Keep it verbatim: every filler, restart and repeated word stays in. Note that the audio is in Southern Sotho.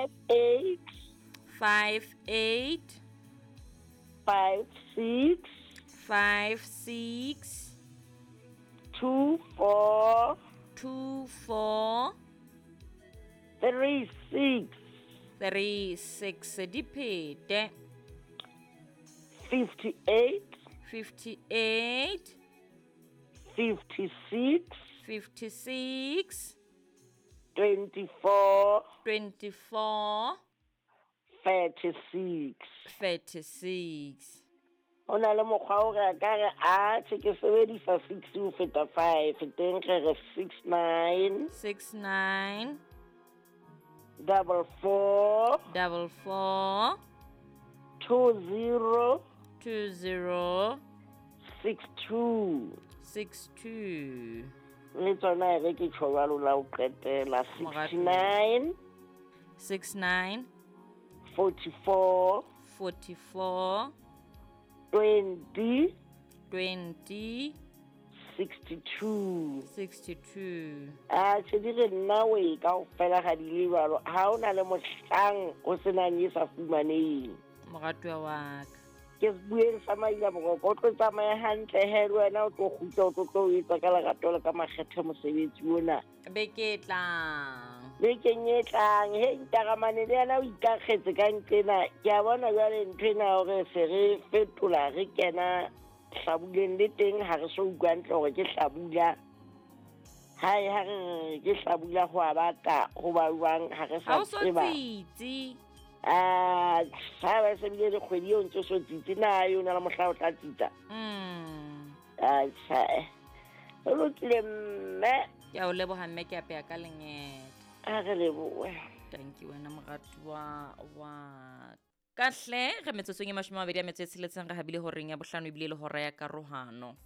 Five eight. Five eight. Five six. Five six. Two four. Two four. Three six. Three six. Di phete. Fifty eight. Fifty eight. Fifty six. Fifty six. Twenty four. Twenty four. Thirty six. Thirty six. Ho na le mokgwa o re ka re a tjhe ke sebedisa six ho feta five teng re re six nine. Six nine. Double four. Double four. Two zero. Two zero. Six two. Six two. Le tsona e re ke tjho jwalo la ho qetela. Six nine. Six nine. Forty four. Forty four. Twenty. Twenty. Sixty two. Sixty two. A tjhe di re nna we kaofela ga di le jwalo. Ha o na le mohlang o senang e sa fumaneng. Moratuwa wa ka. Ke se bueng sa maila boroko, o tlo tsamaya hantle he le wena o tlo kgutla, o tlo tlo o etsa ka lerato le ka makgethe mosebetsi ona. Beke e tlang. Bekeng e tlang, he ntaramane le yena o ikakgetse ka nqena. Ke a bona jwale ntho ena hore se re fetola re kena hlabuleng le teng ha re so utlwa hantle hore ke hlabula. Hae ha re re ke hlabula ho a bata ho ba jwang ha re Ha sa o so tseba. tsitsi. Ah, ha ba se bile le kgwedi eo ntse o so tsitsi na eo na le mohla o tla tsitsa. Mm. Ah, tjhe. Ho lokile mme. Ke a o leboha mme, ke apeya ka lengete. A re lebohe. Thank you wena moratuwa wa ka hle. Re metsotsong e mashome a mabedi a metso e tsheletseng re habile horeng ya bohlano ebile le hora ya karohano.